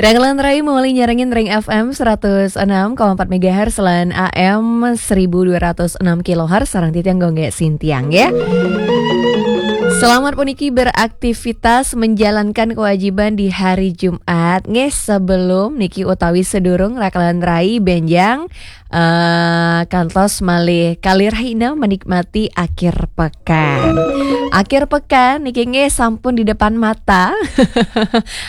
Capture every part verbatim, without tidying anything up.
Raglan Rai mawali nyarengin ring F M seratus enam koma empat megahertz lan A M seribu dua ratus enam kilohertz, sareng titiang Gung Gé Sintiang, ya. Selamat puniki beraktivitas, menjalankan kewajiban di hari Jumat. Nggih, sebelum niki utawi sedurung Raglan Rai bénjang eh, kantos malih kalirahina menikmati akhir pekan. Akhir pekan niki nggih sampun di depan mata.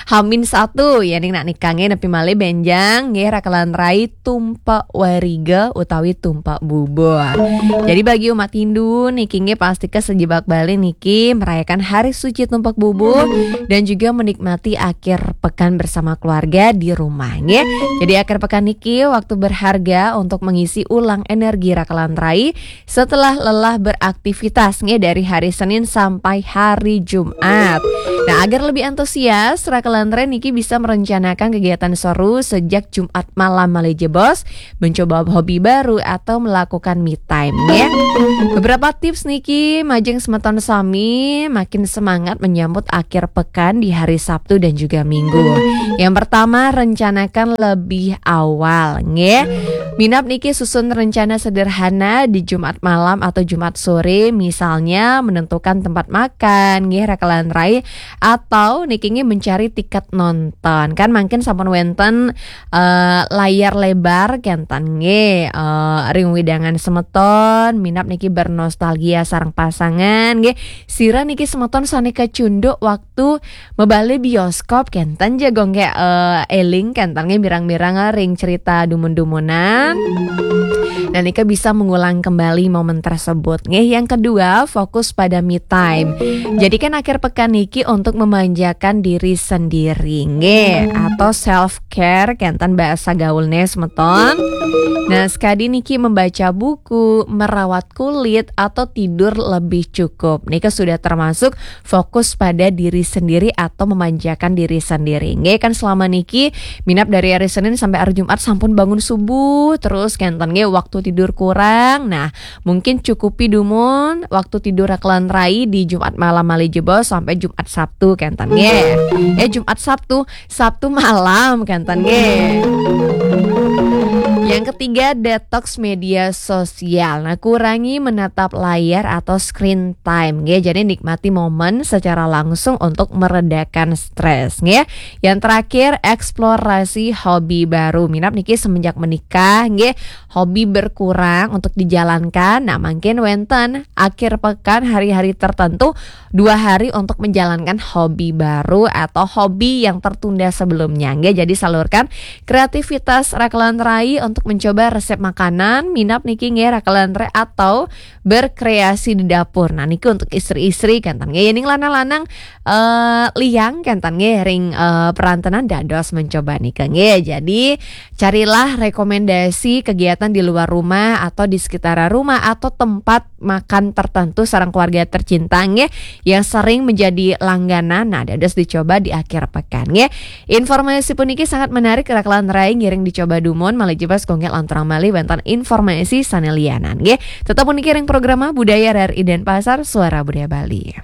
Hamin satu, ya, ning nak nikah nggih nepi malih bénjang nggih Raglan Rai tumpek wariga utawi tumpek bubuh. Jadi bagi umat Hindu niki nggih pasti kasejebak bali niki merayakan hari suci tumpek bubuh dan juga menikmati akhir pekan bersama keluarga di rumah, nggih. Jadi akhir pekan niki waktu berharga untuk mengisi ulang energi Raglan Rai setelah lelah beraktivitas, nggih, dari hari Senin sampai hari Jumat. Nah, agar lebih antusias, Raglan Rai niki bisa merencanakan kegiatan seru sejak Jumat malam malih jebos, mencoba hobi baru atau melakukan me time, ya. Beberapa tips niki majeng semeton sami makin semangat menyambut akhir pekan di hari Sabtu dan juga Minggu. Yang pertama, rencanakan lebih awal, nggih. Minab niki susun rencana sederhana di Jumat malam atau Jumat sore, misalnya menentukan tempat makan, nggih, Raglan Rai, atau niki nggih mencari tiket nonton. Kan mangkin sampun wénten eh, layar lebar kénten nggih, eh, ring wewidangan semeton, minab niki bernostalgia sareng pasangan nggih. Sira niki semeton sané kacunduk waktu mebali bioskop kénten ja Gung Gé, eh, éling kénten nggih mirang-mirang ring cerita dumun-dumunan. Nah, nika bisa mengulang kembali momen tersebut nggih. Yang kedua, fokus pada me time. Jadikan akhir pekan niki untuk memanjakan diri sendiri nggih, atau self care kénten bahasa gaulnya semeton. Nah, sekadi niki membaca buku, merawat kulit, atau tidur lebih cukup. Nika sudah termasuk fokus pada diri sendiri atau memanjakan diri sendiri. Nggih, kan selama niki minab dari hari Senin sampai hari Jumat sampun bangun subuh terus kénten nggih, waktu tidur kurang. Nah, mungkin cukupi dumun waktu tidur Raglan Rai di Jumat malam malih jebos sampai Jumat Sabtu kénten nggih. Eh, Jumat Sabtu, Sabtu malam kénten nggih. Yang ketiga, detox media sosial. Nah, kurangi menatap layar atau screen time nggih. Jadi nikmati momen secara langsung untuk meredakan stres nggih. Yang terakhir, eksplorasi hobi baru. Minab niki semenjak menikah nggih, hobi berkurang untuk dijalankan. Nah, mangkin wénten akhir pekan, hari-hari tertentu, dua hari untuk menjalankan hobi baru atau hobi yang tertunda sebelumnya nggih. Jadi salurkan kreativitas Raglan Rai untuk mencoba resep makanan, minab niki nggih Raglan Rai, atau berkreasi di dapur. Nah, niki untuk istri-istri kénten nggih. Ning lanang-lanang eh, liang kénten nggih ring eh, perantenan dados mencoba nika nggih. Jadi carilah rekomendasi kegiatan di luar rumah atau di sekitar rumah atau tempat makan tertentu sareng keluarga tercinta nggih yang sering menjadi langganan. Nah, dados dicoba di akhir pekan nggih. Informasi puniki sangat menarik, Raglan Rai ngiring dicoba dumun, malih jebos Gung Gé lanturang malih wénten informasi sané lianan nggih. Tetep puniki ring programa Budaya R R I Denpasar, Suara Budaya Bali.